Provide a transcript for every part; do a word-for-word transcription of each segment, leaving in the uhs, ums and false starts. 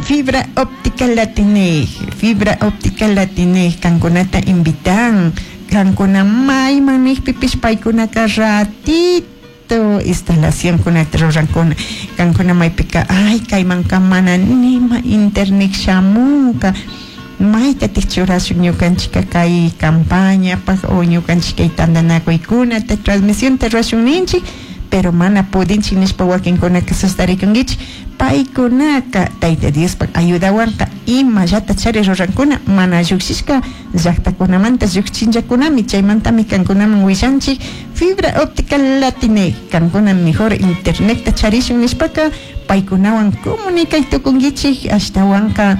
Fibra Óptica Latineg, Fibra Óptica Latineg, kankunata invitan, kankuna mayman nijpipish paykunaka ratito instalación kunata rurankuna, kankuna maypika ay kaymanka mana nima internet shamunka, maytatik churashun ñukanchika kay campañapaj o ñukanchik kay tantanakuykunata transmisionta rurashun ninchik, pero mana pudinchik nishpa wakinkunaka sustarikunkichik, paykunaka Tayta Diospak ayudawanka imallata chari rurankuna mana llukshishka llaktakunamanta llukchinllakunami, chaymantami kankunaman willanchik Fibra Óptica Latineg, kankuna mejor internetta charishun nishpaka paykunawan comunicay tukunkichik, ashtawanka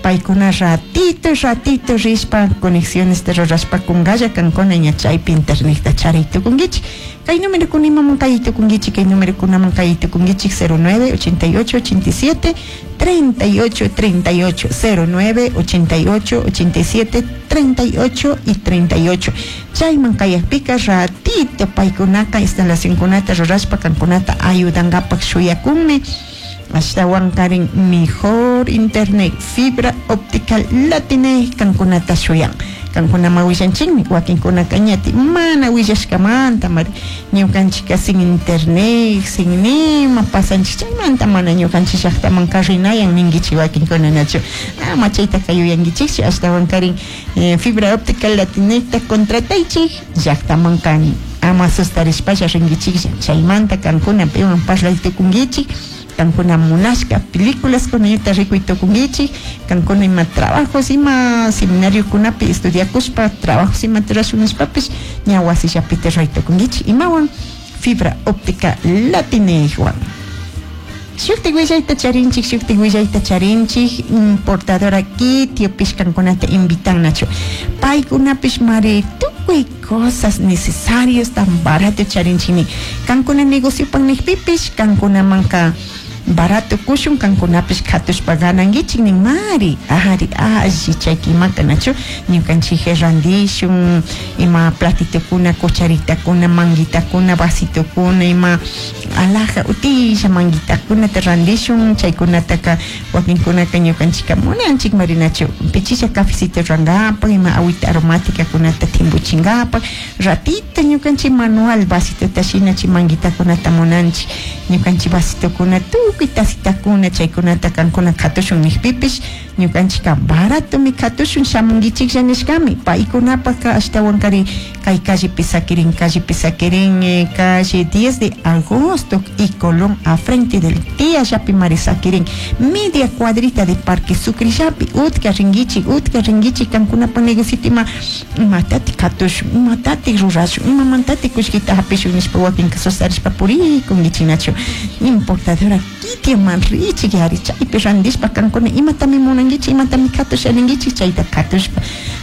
paykuna ratito ratito rishpa conexiones rurashpa kunkalla kankuna ña chaypi internetta charay tukunkichik. Kay número kunaman kay tukunkichik, kay número kunaman kay tukunkichik cero nueve ochenta y ocho ochenta y siete treinta y ocho treinta y ocho, cero nueve ochenta y ocho ochenta y siete treinta y ocho y treinta y ocho. Chayman kayakpika ratito paykunaka instalación kunata rurashpa kankunata ayudankapak shuyakunmi. Ashtawankarin mejor internet fibra óptica Latineg kankunata shuyan. Kankuna ma willanchikmi, wakinkunaka ñati mana willashkamanta mari ñukanchika sin internet, sin nima pasanchik, chaymanta mana ñukanchik llaktaman karrinayan ninkichik wakinkuna nachu. Ama chaytaka yuyankichikchu, ashtawankarin, eh, fibra óptica Latinegta contrataychik llaktaman kan ama sustarishpalla rinkichiklla, chaymanta kankuna piwan parlay tukunkichik, kankuna munashka películas kunayta rikuy tukunkichik, kankuna ima trabajos ima seminariokunapi estudiakushpa trabajos ima rurashun nishpapish ña wasillapita ruray tukunkichik imawan fibra óptica Latinegwan. Shuktik willayta charinchik, shuktik willayta charinchik, importadora Kitiopish kankunata invitannachu. Paykunapish mari tukuy cosas necesarias tan barato charinchikni. Kankuna negociopan nijpipish, kankunamanka barato kushun, kankunapish katushpa ganankichik nin mari, ari, alli chayki imaka nachu, ñukanchik randishun, ima platitukuna, cucharitakuna, manguitakuna, vasitokuna, ima alhaja utilla manguitakunata randishun, chaykunataka wakinkunaka ñukanchika munanchik mari nachu, pichisha cafecito rangapak, ima agüita aromática kunata timbuchingapak, ratito ñukanchik manual vasitota shina chay manguitakunata munanchik, ñukanchik vasitokuna tukuy tacitakuna chaykunata kankuna katushun nijpipish ñukanchika baratomi katushun shamunkichiklla nishkami, paykunapaka ashtawankari kay callepi sakirin, callepi sakirin, eh, calle diez de agosto y Colón a frente del tía llapi mari sakirin, media cuadrita de Parque Sucre llapi, utka rinkichik, utka rinkichik kankunapa negocito ima imatati katushun, imatati rurashun, imamantati kullkita hapishun nishpa wakinka sustarishpa purikunkichik nachu, importadora Kitioman richik yari chaypi randishpa kankuna imatami munankichik, imatami katusha ninkichik, chayta katushpa,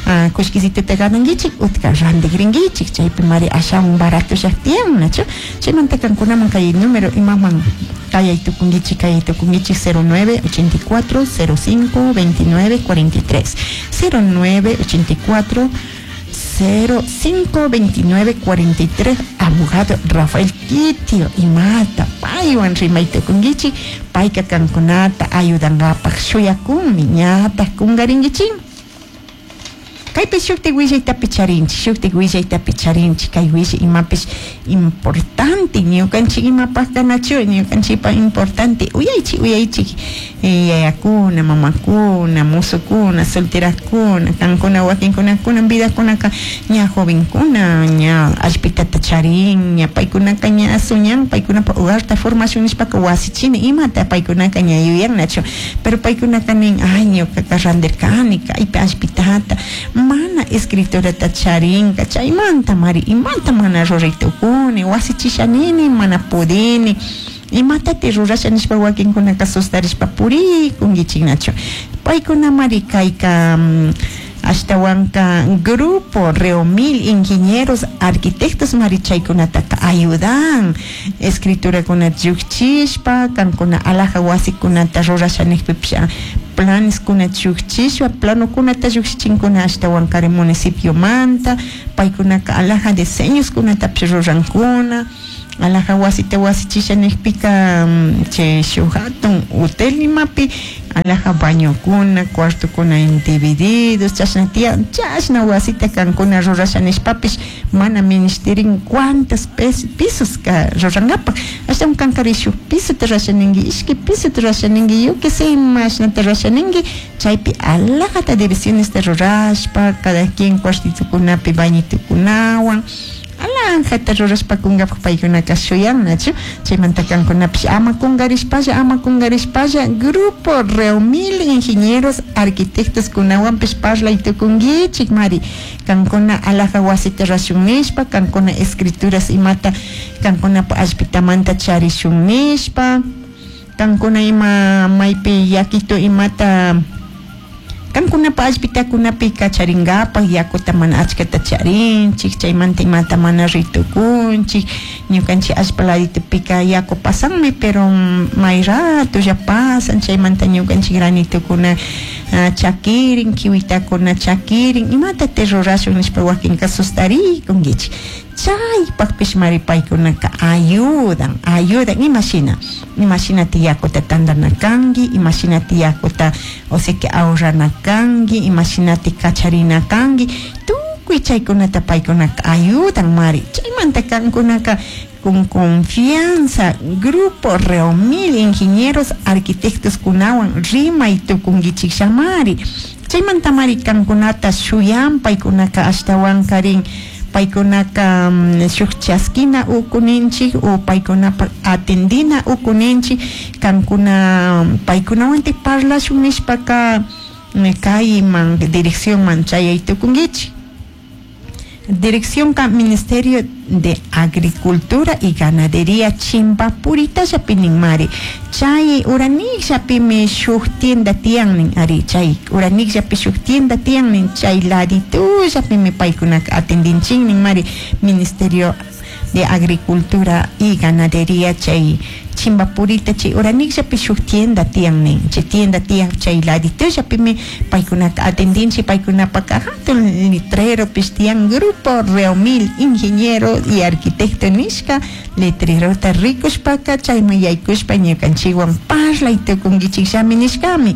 ah, kullkisituta ganankichik, utka rantikrinkichik, chaypi mari ashawan barato llaktiyan nachu, chaymanta kankunaman kay número imaman kayay tukunkichik, kayay tukunkichik cero nueve ochenta y cuatro cero cinco veintinueve cuarenta y tres, cero nueve ochenta y cuatro cero cinco veintinueve cuarenta y tres, abogado Rafael Kitio imata paywan rimay tukunkichik, payka kankunata ayudankapak shuyakunmi ñata kunkarinkichik. Kaypi shuktik willaytapi charinchik, shuktik willaytapi charinchik, kay willay imapish importante, ñukanchik imapaj kanachu, ñukanchikpa importante, uyaychik, uyaychik, eh, yayakuna, mamakuna, musukuna, solterakuna, kankuna, wakinkuna, kunan vidakunaka ña jovenkuna, ña allpitata charin, ña paykunaka ña soñan, paykunapa hogarta formación nishpaka wasichini, imata paykunaka ña yuyannachu, pero paykunaka nin, ay, ñukaka randirkani, kaypi allpitata, mana escriturata charinka, chaymanta mari, imanta mana ruray tukuni, wasichishanini, mana pudini, imatati rurasha nishpa wakinkunaka sustarishpa purikunkichiknachu. Paykuna mari kayka, mm, ashtawanka grupo Reomil ingenieros arquitectos mari chaykunataka ayudan escriturakuna llukchishpa, kankuna alhaja wasikunata rurasha nijpipish planes kuna llukchishpa, planokunata llukchinkuna ashtawankari municipiomanta, paykunaka alhaja diseños kunatapish rurankuna, alhaja wasita wasichisha nijpika, mm, chay shuk hatun hotel imapi Alaja bañokuna, cuartokuna en divididos, chashna tiyan, chashna wasita kankuna rurasha nishpapish mana ministerin cuántos pisos ka rurangapak. Ashtawan kankari shuk pisota rurasha ningui, ishki pisota rurasha ningui, yo que sé, mashnata rurasha ningui, chaypi alajata divisiones rurashpa, cada quien cuartitokunapi bañitokunawan, alajata rurashpa kungapak paykunaka shuyannachu, chaymanta kankunapish ama kungarishpalla, ama kungarishpalla, grupo Reumil Ingenieros Arquitectos kunawanpish parlay tukunkichik mari, kankuna alaja wasita rurashun nishpa, kankuna escrituras imata kankunapa allpitamanta charishun nishpa, kankuna ima maypi yakito imata kankunapa allpitakunapi kacharingapak yakuta mana achkata charinchik, chaymanta imata mana ritukunchik, ñukanchik allpa laditopika yaku pasanmi pero may ratolla pasan, chaymanta ñukanchik granitukuna chakirin, kiwitakuna chakirin, imata te rurashun nishpa wakinka sustarikunkichik, chaypakpish mari paykunaka ayudan, ayudan, imashina, imashinati yakuta tandana kanki, imashinati yakuta o sea que ahorrana kanki, imashinati kacharina kanki, tukuy chaykunata paykunaka ayudan mari, chaymanta kankunaka con confianza grupo Reumil Ingenieros Arquitectos kunawan rimay tukunkichik shamari, chaymanta mari kankunata shuyan paykunaka ashtawankarin paykunaka shuk chaskina ukuninchik o paykunapa atendina ukuninchik, kankuna paykunawantik parlashun nishpaka kayman direccionman chayay tukunkichik. Dirección Ministerio de Agricultura y Ganadería Chimpapurita mari chay uranikllapimi shuk tienda tiyannin ari chay uranikllapi shuk tienda tiyannin chay laditullapimi paykunaka atendinchiknin mari Ministerio de Agricultura y Ganadería chay Chimpapurita chay uranikllapi shuk tienda tiyannin chay tienda tiyan chay laditullapimi paykunaka atendinchik paykunapaka hatun letreropish tiyan grupo Reumil Ingeniero y Arquitecto nishka letrerota rikushpaka chayman yaykushpa ñukanchikwan parlay tukunkichikllami nishkami.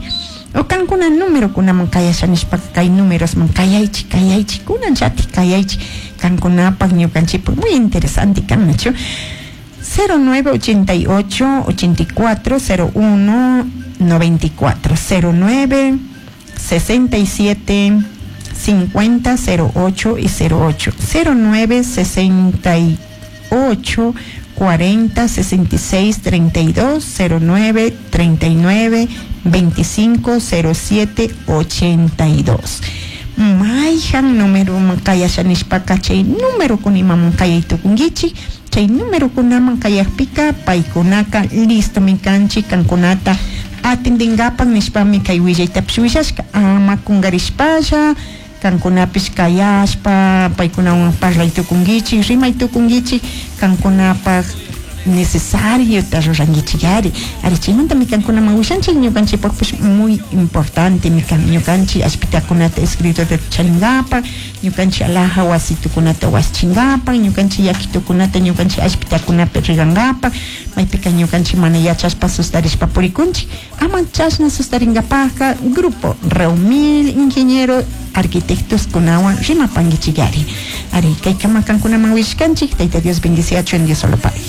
O kankuna número kunaman kayasha nishpaka kay númerosman kayaychik kayaychik kunan chatik kayaychik kankunapak ñukanchikpak muy interesante kan nachu cero nueve ochenta y ocho ochenta y cuatro cero uno noventa y cuatro cero nueve sesenta y siete cincuenta cero ocho y cero ocho cero nueve sesenta y ocho cuarenta sesenta y seis treinta y dos cero nueve treinta y nueve veinticinco cero siete ochenta y dos. Mayhan número kayasha nishpaka chay número kunimaman kayay tukunkichik chay número kunaman kayakpika paykunaka listo mi kanchik kankunata atendingapak nishpami kay willaytapish willashka ama kungarishpalla kankunapish kayashpa paykunawan parlay tukunkichik rimay tukunkichik kankunapak necesario ta rurankichik ari ari chaymantami kankunaman willanchik ñukanchikpakpish muy importante mi kan ñukanchik allpitakunata escritorata charinkapak ñukanchik alaja wasitukunata waschinkapak ñukanchik yakitukunata ñukanchik allpitakunapi rigankapak maypika ñukanchik mana yachashpa sustarishpa purikunchik ama chashna sustarinkapakka grupo Reumil Ingeniero Arquitectos kunawan rimapankichik ari ari kaykama kankunaman willashkanchik Tayta Dios bendiciachun Dios solo Padre.